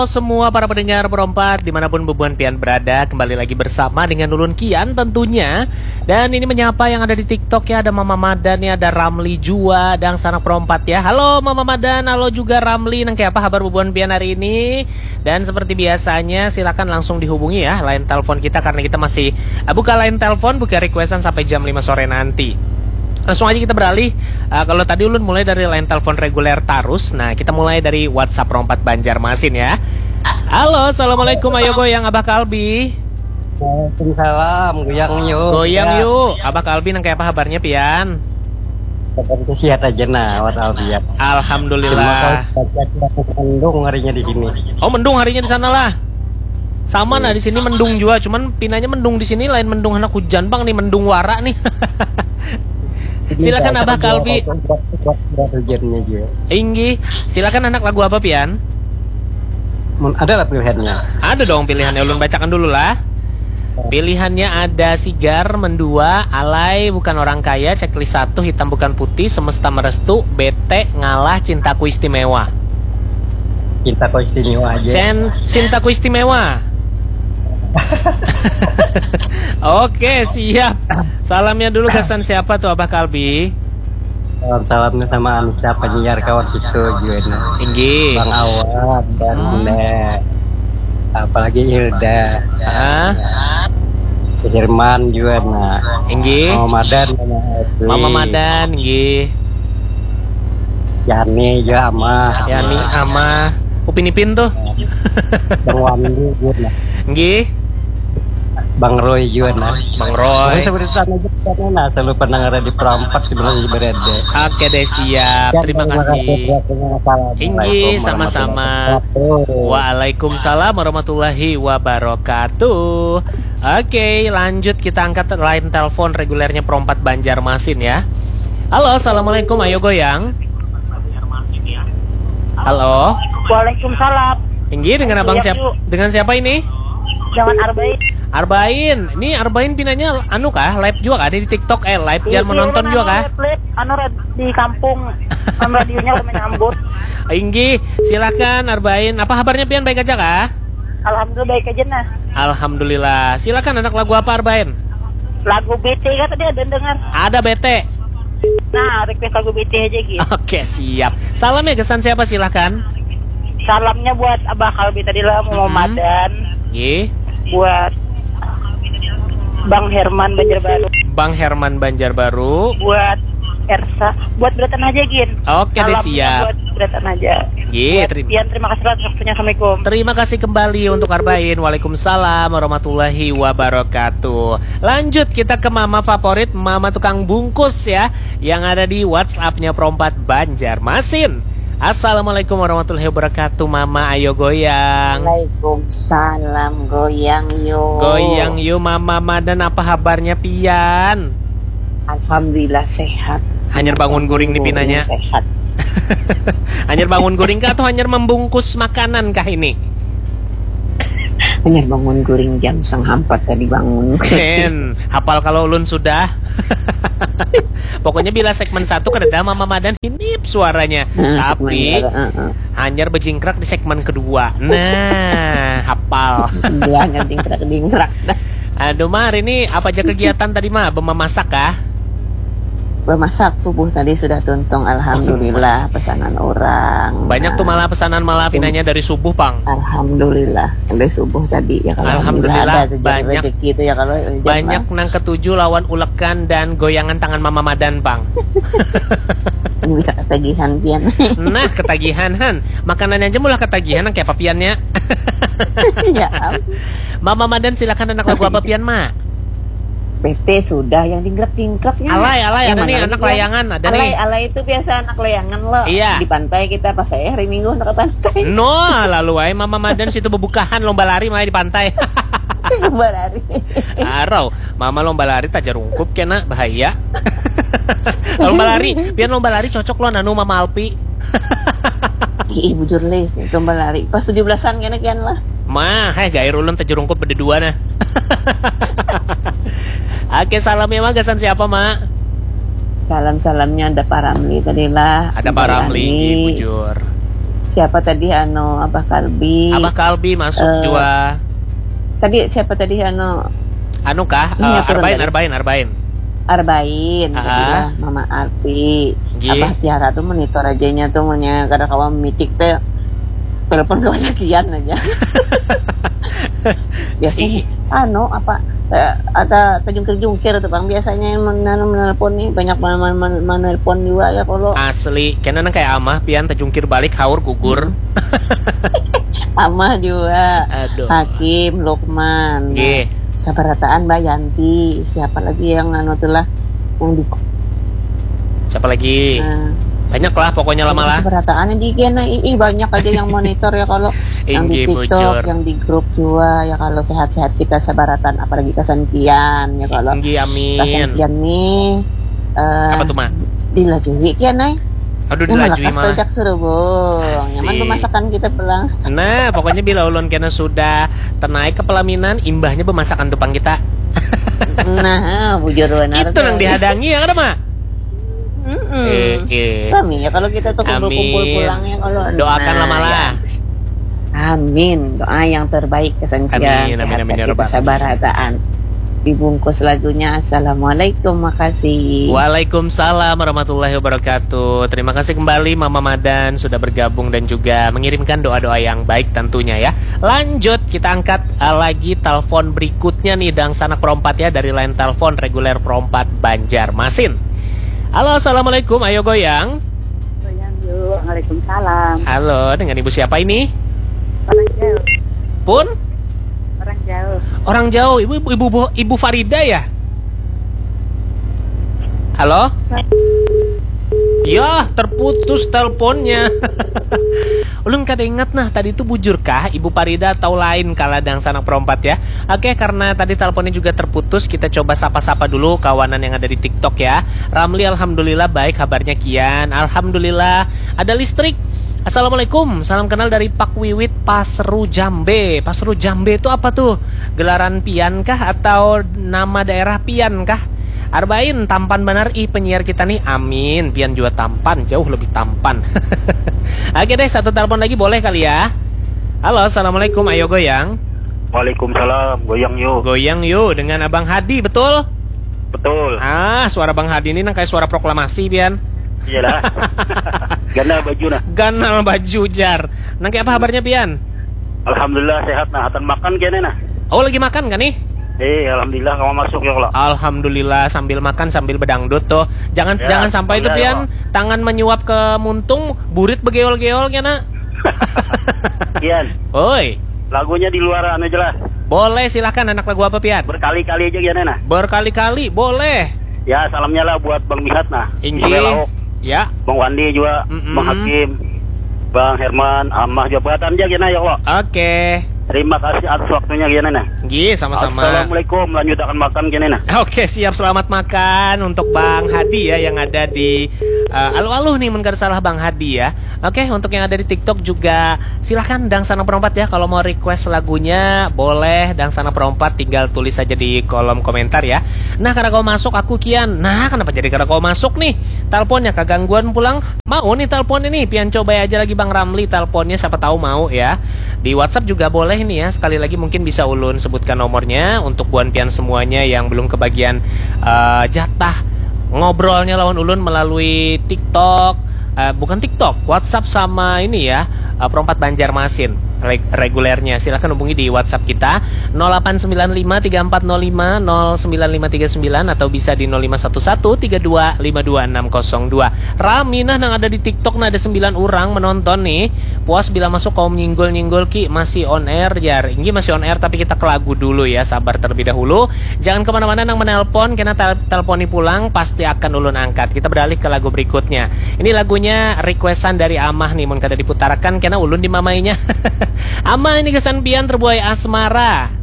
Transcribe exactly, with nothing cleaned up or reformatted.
Halo semua para pendengar Perompat dimanapun bubuhan pian berada, kembali lagi bersama dengan ulun Kian tentunya. Dan ini menyapa yang ada di TikTok ya, ada Mama Madan ya, ada Ramli jua, dan sanak Perompat ya. Halo Mama Madan, halo juga Ramli, nang kaya apa habar bubuhan pian hari ini? Dan seperti biasanya silakan langsung dihubungi ya, line telepon kita karena kita masih uh, buka line telepon, buka requestan sampai jam lima sore nanti. Langsung aja kita beralih. Uh, kalau tadi ulun mulai dari line telepon reguler tarus, nah kita mulai dari WhatsApp Rompat Banjarmasin ya. Halo, assalamualaikum, ayo goyang Abah Kalbi. Waalaikumsalam, goyang yuk. Goyang yuk, Abah Kalbi nang kayak apa habarnya pian? Seperti sehat aja nah, walafiat. Alhamdulillah. Mendung harinya di sini. Oh, mendung harinya di sana lah. Sama nah, di sini mendung juga, cuman pinanya mendung di sini lain mendung anak hujan bang nih, mendung wara nih. Silakan Abah Kalbi. Hujannya juga. Inggi, silakan anak lagu apa pian? Ada lah pilihannya. Ada dong pilihannya, ulun bacakan dulu lah. Pilihannya ada Sigar, Mendua, Alay, Bukan Orang Kaya, Checklist satu, Hitam Bukan Putih, Semesta Merestu, Bete, Ngalah, Cintaku Istimewa. Cintaku Istimewa aja. Cen, Cintaku Istimewa. Oke, siap. Salamnya dulu kesan siapa tuh Abah Kalbi? Salam salamnya sama anu siapa nyiar kawan situ juga nah. Tinggi. Bang Awan dan hmm. Bunda. Apalagi Hilda. Ah. Firman juga nah. Tinggi. Mama Madan sama Mama Madan, tinggi. Yani juga ama. Yani ama. Upin Ipin tuh. Bang Wandi juga nah. Tinggi. Bang Roy juga nah. Bang Roy. Sebenarnya sana aja sana nah, selalu pendengar di Perompat sebenarnya berada. Oke deh siap. Terima kasih. Tinggi sama-sama. Waalaikumsalam warahmatullahi wabarakatuh. Oke, lanjut kita angkat line telepon regulernya Perompat Banjarmasin ya. Halo, assalamualaikum. Ayo goyang. Halo. Waalaikumsalam. Tinggi dengan abang siapa? Dengan siapa ini? Jangan Arbain. Arbain, ini Arbain pinanya anu kah? Live juga kah? Di TikTok eh live jangan menonton juga kah? Live, live anu di kampung. Kan radionya udah menyambut. Inggi, silakan Arbain. Apa kabarnya pian, baik aja kah? Alhamdulillah baik aja nah. Alhamdulillah. Silakan anak, lagu apa Arbain? Lagu B T kan tadi ada dengar. Ada B T. Nah, request lagu B T aja gitu. Oke, siap. Salam ya kesan siapa, silahkan. Salamnya buat Abah Kalbi tadi lah, Mama Madan. Ye. Buat Bang Herman Banjarbaru. Bang Herman Banjarbaru. Buat Ersa, buat Bratan aja gin. Oke deh, siap. Buat Bratan aja. Ye, terima. Pian, terima kasih atas waktunya. Assalamualaikum. Terima kasih kembali untuk Arbain. Waalaikumsalam warahmatullahi wabarakatuh. Lanjut kita ke mama favorit, mama tukang bungkus ya, yang ada di WhatsApp-nya Perompat Banjarmasin. Assalamualaikum warahmatullahi wabarakatuh, Mama. Ayo goyang. Waalaikumsalam, goyang yuk. Goyang yuk, Mama. Madan, apa kabarnya pian? Alhamdulillah sehat. Hanyar bangun guring nih pinanya. Sehat. Hanyar bangun guring kah atau hanyar membungkus makanan kah ini? Hanyar bangun guring jam setengah empat tadi bangun. Ken, hapal kalau ulun sudah. Pokoknya bila segmen satu kada ada Mama Madan hinip suaranya. Hmm, tapi uh, uh. Hanyar bejingkrak di segmen kedua. Nah, hapal. Hanyar jingkrak-jingkrak. Aduh, Mar, ini apa aja kegiatan tadi, Ma? Memasak kah? Memasak subuh tadi sudah tuntung, alhamdulillah, pesanan orang. Banyak tuh malah pesanan malah pinanya dari subuh, Pang. Alhamdulillah, dari subuh tadi ya kalau alhamdulillah, alhamdulillah ada banyak rezeki itu ya kalau banyak nang ketuju lawan ulekan dan goyangan tangan Mama Madan, Pang. Ini bisa ketagihan pian. Nah, ketagihan han. Makanannya aja mulai ketagihan nang kayak apa piannya. Ya. Mama Madan, silakan, anak lagu apa pian, Ma? B T sudah, yang jingkrak-jingkraknya. Alay, alay, ada nih anak layangan, ada alay, nih. Alay itu biasa anak layangan loh. Iya. Di pantai kita pas saya hari Minggu ke pantai. No, lalu wae Mama Madan situ bebukahan lomba lari mai di pantai. Lomba lari. Arau, Mama lomba lari tajar ungkup kena bahaya. Lomba lari, pian lomba lari cocok lo nanu Mama Alpi. Ih, bujur leh, lomba lari. Pas tujuh belasan kena kian lah. Mah, heh gair ulun tajar ungkup berdua nah. Oke, salam ya, Ma. Gasan siapa, Ma? Salam-salamnya ada Pak Ramli tadi lah. Ada Pak Ramli, bujur. Siapa tadi, anu, Abah Kalbi? Abah Kalbi masuk Eh, jua. Tadi siapa tadi, anu? Anu kah? Ini Eh, aturan Arbain, tadi. Arbain, Arbain. Arbain, Aha. Tadi lah, Mama Arti. Nggih. Abah Tiara tuh monitor aja nya tuh, munya kada kawa micik teh. Telepon kawa kian aja. Biasanya, Ih. Anu, apa, eh, ada terjungkir-jungkir tuh, Bang. Biasanya yang men-, anu, menelpon nih, banyak men-, men-, men-, menelpon juga ya, kalau Asli, kena nang kayak amah, pian terjungkir balik, haur gugur. Amah juga. Aduh. Hakim, Lukman. Nah, Nggih. Sabarataan, Mbak Yanti. Siapa lagi yang anu tuh lah, yang di Siapa lagi? Nah, Banyak lah pokoknya lama lah. Sabarataan aja, iya, nah, ih, ih, banyak aja yang monitor ya, kalau yang di Inggih, TikTok, bujur. Yang di grup juga ya, kalau sehat-sehat kita sabarataan, apalagi kasangkian ya, kalau Inggih, amin. Kasangkian nih, eh, Apa tuh, Ma? Dilajui kian, Nay. Aduh, dilajui malah. Yang malakas tajak serubung. Nyaman Asik. Bemasakan kita pulang. Nah, pokoknya bila ulun kena sudah tenaik ke pelaminan, imbahnya bemasakan tupang kita. Nah, bujur benar Itu tuh. Nang dihadangi ya, kada, Ma? Mm-mm. Eh, eh. Rami ya kalau kita tuh kumpul-kumpul Amin. Pulang ya kalau Doakan Nah, lah malah. Ya. Amin. Doa yang terbaik kesengkian Amin, amin, sehat amin, ya kita Rabbal alamin. Sabarataan. Dibungkus lagunya. Assalamualaikum, makasih. Waalaikumsalam warahmatullahi wabarakatuh. Terima kasih kembali Mama Madan sudah bergabung dan juga mengirimkan doa-doa yang baik tentunya ya. Lanjut kita angkat uh, lagi telepon berikutnya nih, Dangsanak Perompat ya, dari line telepon reguler Perompat Banjarmasin. Halo, assalamualaikum, ayo goyang. Goyang yuk. Waalaikumsalam. Halo, dengan ibu siapa ini? Orang jauh. Pun? Orang jauh. Orang jauh. Ibu ibu ibu, ibu Farida ya? Halo? Ya, terputus teleponnya. Ulun kada ingat nah, tadi itu bujurkah Ibu Farida atau lain kala Dangsanak Perompat ya. Oke, karena tadi teleponnya juga terputus, kita coba sapa-sapa dulu kawanan yang ada di TikTok ya. Ramli, alhamdulillah baik, kabarnya kian. Alhamdulillah ada listrik. Assalamualaikum, salam kenal dari Pak Wiwit Pasru Jambe. Pasru Jambe itu apa tuh? Gelaran pian kah atau nama daerah pian kah? Arbain, tampan banar ih penyiar kita nih. Amin. Pian juga tampan, jauh lebih tampan. Oke deh, satu telepon lagi boleh kali ya. Halo, assalamualaikum. Ayo goyang. Waalaikumsalam. Goyang yuk. Goyang yuk dengan Abang Hadi, betul? Betul. Ah, suara Bang Hadi ini nang kayak suara proklamasi, pian. Iyalah. Ganal baju nah. Ganal baju, jar. Nang kayak apa kabarnya, pian? Alhamdulillah sehat nah. Hatan makan kene nah. Oh, lagi makan kan nih? Eh, alhamdulillah kamu masuk ya kalau. Alhamdulillah, sambil makan sambil bedangdut tuh. Jangan Ya, jangan sampai itu, alhamdulillah, pian, ya, Pak. Tangan menyuap ke muntung, burit begeol-geol kena. Pian. Oi. Lagunya di luar anu aja lah. Boleh, silahkan, anak lagu apa, pian? Berkali-kali aja, Gian, nah. Berkali-kali, boleh. Ya, salamnya lah buat Bang Mihat nah. Inggih. Ismail Lauk. Ya. Bang Wandi juga, Mm-mm. Bang Hakim, Bang Herman, Amah juga, buatan aja, Gian, ya Allah. Oke. Terima kasih atas waktunya, Gian, nah. Inggih, sama-sama. Assalamualaikum, lanjutakan makan, Gian, nah. Oke, siap, selamat makan untuk Bang Hadi ya, yang ada di, eh, aluh-aluh nih, mun kada salah, Bang Hadi ya. Oke, untuk yang ada di TikTok juga silahkan, Dangsanak Perompat ya, kalau mau request lagunya boleh, Dangsanak Perompat, tinggal tulis saja di kolom komentar ya. Nah, kada kawa masuk aku, Kian. Nah, kenapa jadi kada kawa masuk nih? Teleponnya kagangguan pulang. Mau nih telepon ini, pian coba aja lagi Bang Ramli teleponnya, siapa tahu mau ya. Di WhatsApp juga boleh nih ya. Sekali lagi mungkin bisa ulun sebutkan nomornya untuk buan pian semuanya yang belum kebagian eh, jatah ngobrolnya lawan ulun melalui TikTok, eh, bukan TikTok, WhatsApp sama ini ya, eh, Perompat Banjarmasin reg- regulernya. Silahkan hubungi di WhatsApp kita nol delapan sembilan lima tiga empat nol lima nol sembilan lima tiga sembilan atau bisa di nol lima satu satu tiga dua lima dua enam kosong dua. Rami nah nang ada di TikTok nah, ada sembilan orang menonton nih. Puas bila masuk kaum nyinggol-nyinggol ki, masih on air jar. Ini masih on air tapi kita ke lagu dulu ya, sabar terlebih dahulu. Jangan kemana-mana nang menelpon, kena tel- teleponi pulang, pasti akan ulun angkat. Kita beralih ke lagu berikutnya. Ini lagunya requestan dari Amah nih, mun kada diputarakan kena ulun dimamainya. Amah, ini kesan pian terbuai asmara.